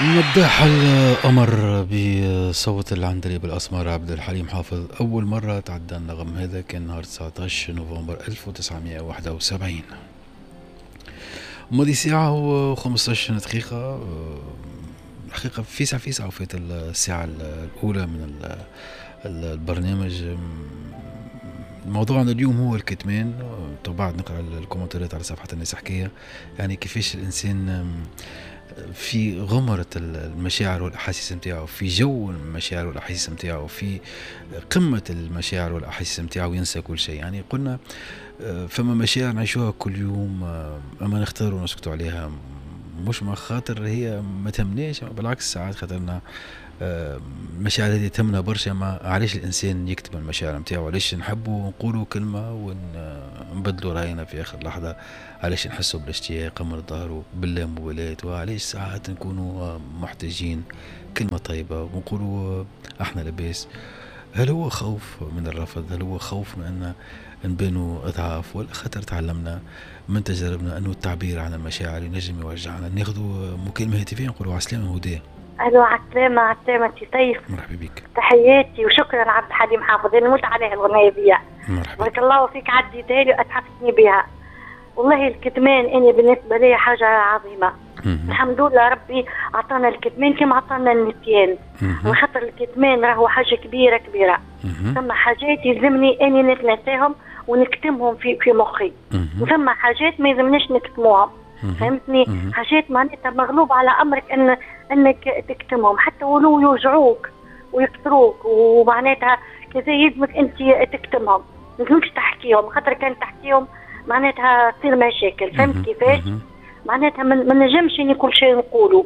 مداح القمر بصوت العندليب الأسمر عبد الحليم حافظ. أول مرة تعدى النغم هذا كان نهار 19 نوفمبر 1971. ماضي ساعة و15 دقيقة. الحقيقة فيسع فيسع وفات الساعة الأولى من البرنامج. موضوعنا اليوم هو الكتمان. بعد نقرأ الكومنتات على صفحة الناس حكاية، يعني كيفاش الإنسان في غمرة المشاعر والأحاسيس نتاعو، في جو المشاعر والأحاسيس نتاعو، في قمة المشاعر والأحاسيس نتاعو ينسى كل شيء. يعني قلنا فما مشاعر نعيشوها كل يوم أما نختاروا نسكتوا عليها، مش ما خاطر هي ما تهمناش، بالعكس ساعات خاطرنا المشاعر هذه تهمنا برشا. ما علاش الانسان يكتب المشاعر نتاعو؟ علاش نحبوا نقولوا كلمة ونبدلوا راينا في اخر لحظة؟ علاش نحسوا بالاشتياق من الظهر باللامبالاة؟ وعلاش ساعات نكونوا محتاجين كلمة طيبة ونقولوا احنا لاباس؟ هل هو خوف من الرفض؟ هل هو خوف من ان نبانوا اضعاف؟ ولا خاطر تعلمنا من تجاربنا انه التعبير عن المشاعر ينجم يوجعنا؟ ناخذوا مكالمة هاتفيه نقولوا عسلامة هدى. الو عسلامة، عسلامة سي سيف. مرحبا بك. تحياتي وشكرا عبد الحليم حافظ، انا نموت عليها الغنية دي. مرحبا. بارك الله فيك، عديتها لي واتحفتني بها. والله الكتمان انا بالنسبة لي حاجة عظيمة. الحمد لله ربي عطانا الكتمان كما عطانا النسيان. وخاطر الكتمان راهو حاجة كبيرة كبيرة. ثم حاجات يلزمني اني نتناساهم ونكتمهم في مخي، وثم حاجات ما يلزمناش نكتموهم. فهمتني؟ حاجات معناتها مغلوب على امرك انك تكتمهم حتى ولو يوجعوك ويكسروك، ومعناتها كذا يلزمك انت تكتمهم، ما يلزمكش تحكيهم، خاطر كان تحكيهم معناتها تصير مشاكل. فهمت كيفاش؟ معناتها ما نجمش اني كل شيء نقوله،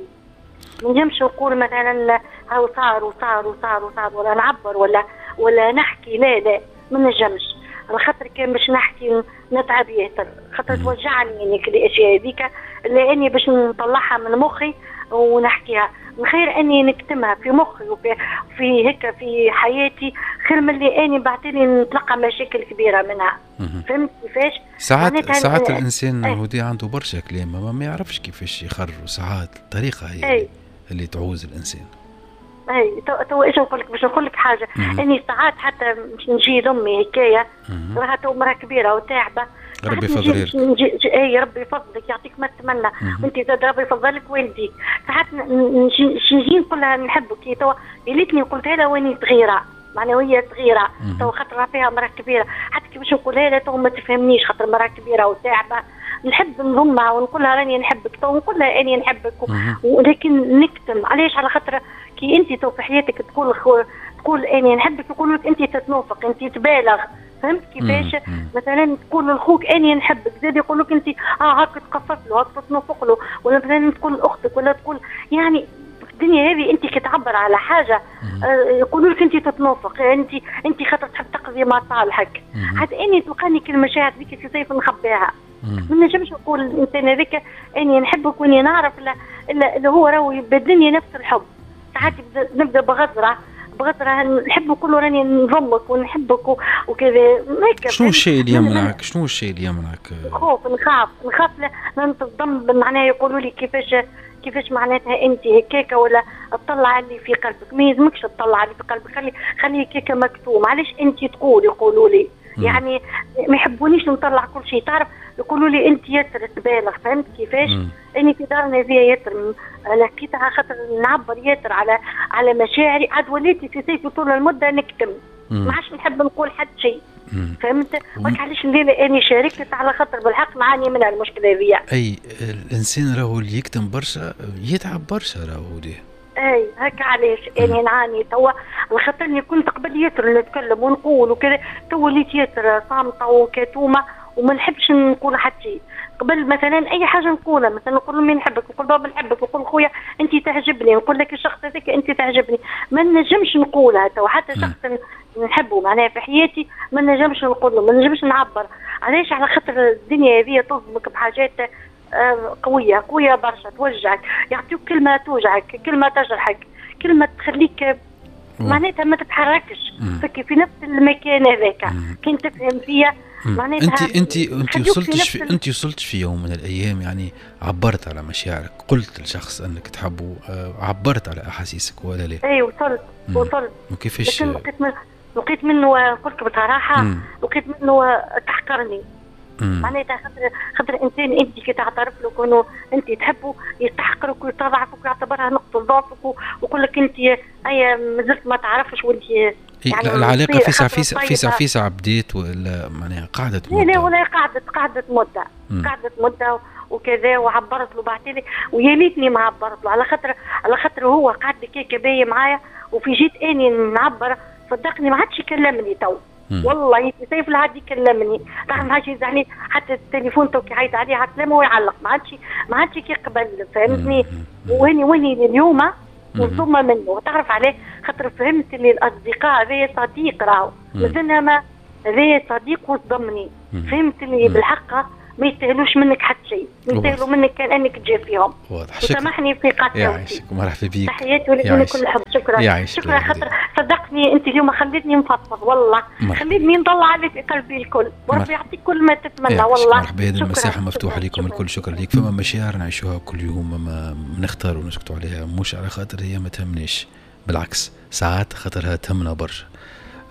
ما نجمش نقول مثلا هاو صار وصار وصار وصار، ولا نعبر ولا نحكي. لا لا ما نجمش، على خاطر كان باش نحكي نتعب ياسر، خاطر توجعني يعني كل الاشياء هذيك اللي اني باش نطلعها من مخي ونحكيها. من خير اني نكتمها في مخي وفي في هيك في حياتي، خير من اللي اني بعتني نتلقى مشاكل كبيرة منها. فهمت كيفاش؟ ساعات الانسان هودي عنده برشا كلام ما يعرفش كيفاش يخرجوا. ساعات الطريقة هي اللي تعوز الانسان. اي تو ايش نقول لك، باش نقول لك حاجة، اني ساعات حتى باش نجي لامي هكايا، راها تو مراة كبيرة وتاعبه، ربي يفضلك. اي ربي يفضلك، يعطيك ما تتمنى، وانت زاد ربي يفضلك والديك. ساعات نجي نقول لها نحبك، تو يا ليتني قلتها لها واني صغيرة، معناها وهي صغيرة، تو خاطر فيها مراة كبيرة، حتى كي باش نقولها لها تو ما تفهمنيش، خاطر مراة كبيرة وتاعبه. نحب نضمها ونقول لها راني نحبك، تو نقول لها اني نحبك، ولكن نكتم. علاش؟ على خاطر كي انت تو في حياتك تقول اني نحبك، يقولوا لك انت تتنوفق، انت تبالغ. فهمت كيفاش؟ مثلا تقول لخوك اني نحبك، زاد يقول لك انت هاك تقفف له، هاك تتنوفق له، ولا مثلا تقول لاختك، ولا تقول يعني الدنيا هذه انت كي تعبر على حاجة يقولوا لك انت تتنوفق، انت خاطر تحب تقضي مصالحك. حتى اني تلقاني كل المشاعر ذيك في سيف نخبيها، ما نجمش نقول الانسان هذاك اني نحبك واني نعرف اللي هو راهو يبادلني نفس الحب. ساعات نبدا بغزره نحب نقول راني نضمك ونحبك وكذا. شنو الشيء اللي يمنعك؟ شنو الشيء اللي يمنعك؟ خوف، نخاف نتضم، معناها يقولوا لي كيفاش معناتها انت هكاكا، ولا تطلع اللي في قلبك. ما يلزمكش تطلع اللي في قلبك، خلي هكاكا مكتوم. علاش انت تقول؟ يقولوا لي يعني ما يحبونيش نطلع كل شيء، تعرف يقولوا لي انت ياسر تبالغ. فهمت كيفاش؟ اني في دارنا هذيا ياسر لقيتها خاطر نعبر ياسر على مشاعري، عاد وليتي في سيف طول المدة نكتم، ما عادش نحب نقول حتى شيء. فهمت؟ وقت علاش الليلة اني شاركت، على خاطر بالحق نعاني منها المشكلة هذيا. اي الانسان راهو اللي يكتم برشا يتعب برشا راهو دي. اي هكا علاش اني نعاني توا، على خاطرني كنت قبل ياسر نتكلم ونقول وكذا، توا وليت ياسر صامته وكتومه وما نحبش نقول حتى شيء. قبل مثلا اي حاجة نقولها، مثلا نقول لامي نحبك، نقول بابا نحبك، نقول خويا انت تعجبني، نقول لك الشخص هذاك انت تعجبني، ما نجمش نقولها تو. حتى شخص نحبه معناها في حياتي ما نجمش نقول له، ما نجمش نعبر. علاش؟ على خاطر الدنيا هذه تصدمك بحاجات قوية قوية برشا، توجعك، يعطيوك كلمة توجعك، كلمة تجرحك، كلمة تخليك معناتها ما تتحركش في نفس المكان هذاك. كنت تفهم فيا معناتها. انت انت وصلتش في يوم من الايام يعني عبرت على مشاعرك، قلت لشخص انك تحبه، عبرت على احاسيسك ولا لا؟ اي وصلت. وكيفاش؟ لكن لقيت منه، قلت بصراحة لقيت منه تحقرني. معناتها خاطر انسان انت كي تعترف له كونه انت تحبه يستحقرك ويتضعفك ويعتبرها نقطة ضعفك ويقول لك انت اي مازلت ما تعرفش وانت يعني العلاقة فيسع فيسع فيسع فيسع بديت ولا معناها قعدت مده؟ لا ولا قعدت مده، قعدت مده وكذا، وعبرت له بعتلي ويا ليتني ما عبرت له، على خاطر هو قعد كيكة باهيه معايا، وفي جيت اني نعبر صدقني ما عادش يكلمني تو. والله سيف العاد يكلمني، تعرف ما عادش يزعلني حتى التليفون تو كي يعيط عليه على السلامة ويعلق، ما عادش كيقبل، فهمتني؟ واني اليوم وثم منه، تعرف عليه خاطر فهمت اللي الاصدقاء هذايا صديق راهو مازلنا ما هذايا صديق وصدمني، فهمت اللي بالحق ما يستاهلوش منك حتى شيء، ما يستاهلوا منك كان انك تجافيهم. واضح. وسامحني في قطعتي. يعيشك ومرحبا بيك. تحياتي ولك كل حب. شكرا شكرا خاطر صدقني انت اليوم خليتني نفضفض والله، خليتني نطلع اللي في قلبي الكل، وربي يعطيك كل ما تتمنى والله. مرحبا، هذه المساحة مفتوحة لكم الكل. شكرا لك. فما مشاعر نعيشوها كل يوم ما نختار ونسكتوا عليها، مش على خاطر هي ما تهمناش، بالعكس ساعات خاطرها تهمنا برشا.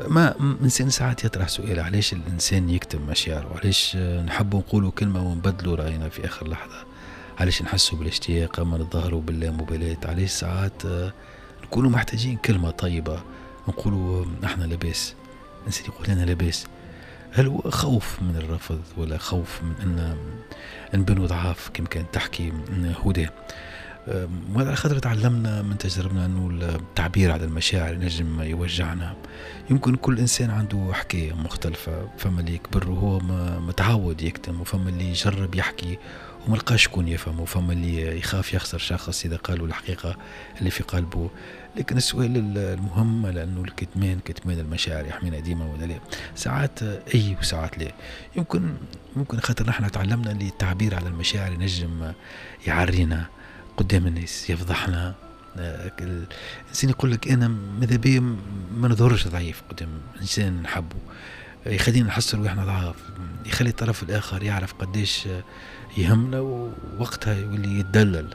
ما الانسان ساعات يطرح سؤال، علاش الانسان يكتم مشاعره؟ علاش نحبوا نقولوا كلمة ونبدلوا راينا في اخر لحظة؟ علاش نحسوا بالاشتياق اما نتظاهروا باللامبالاه؟ علاش ساعات نكونوا محتاجين كلمة طيبة نقولوا احنا لاباس، الانسان يقول انا لاباس؟ هل هو خوف من الرفض ولا خوف من ان نبنوا ضعاف كما كانت تحكي هدى؟ وعلى خاطر تعلمنا من تجربنا انه التعبير على المشاعر ينجم يوجعنا. يمكن كل انسان عنده حكاية مختلفة، فما اللي يكبر وهو متعود يكتم، وفما اللي يجرب يحكي وما لقاش شكون يفهم، وفما اللي يخاف يخسر شخص اذا قالوا الحقيقة اللي في قلبه. لكن السؤال المهم، لانه الكتمان كتمان المشاعر يحمينا ديما ولا لا؟ ساعات اي وساعات لا. يمكن خاطر نحن تعلمنا اللي التعبير على المشاعر ينجم يعرينا قدام الناس، يفضحنا. الانسان يقول لك انا ماذا بيا ما نظهرش ضعيف قدام انسان نحبه، يخلينا نحس روحنا ضعاف، يخلي الطرف الاخر يعرف قديش يهمنا ووقتها يولي يتدلل.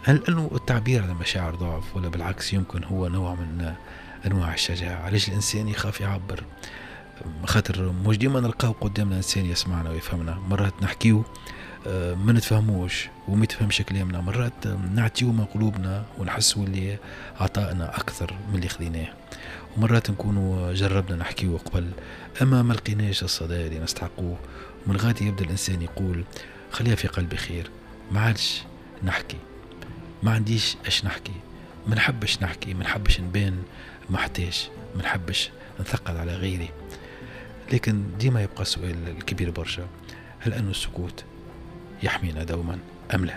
هل انه التعبير على المشاعر ضعف ولا بالعكس يمكن هو نوع من انواع الشجاعة؟ علاش الانسان يخاف يعبر؟ خاطر مش ديما نلقاو قدامنا انسان يسمعنا ويفهمنا، مرات نحكيو ما نتفهموش وما يتفهمش كلامنا، مرات نعطيو من قلوبنا ونحسوا اللي عطائنا اكثر من اللي خذيناه، ومرات نكونوا جربنا نحكيو قبل اما ما لقيناش الصدى اللي نستحقوه، ومن غادي يبدا الانسان يقول خليها في قلبي خير، ما عادش نحكي، ما عنديش اش نحكي، ما نحبش نحكي، ما نحبش نبان محتاج، ما نحبش نثقل على غيري. لكن ديما يبقى السؤال الكبير برشا، هل أن السكوت يحمينا دوما أم لا؟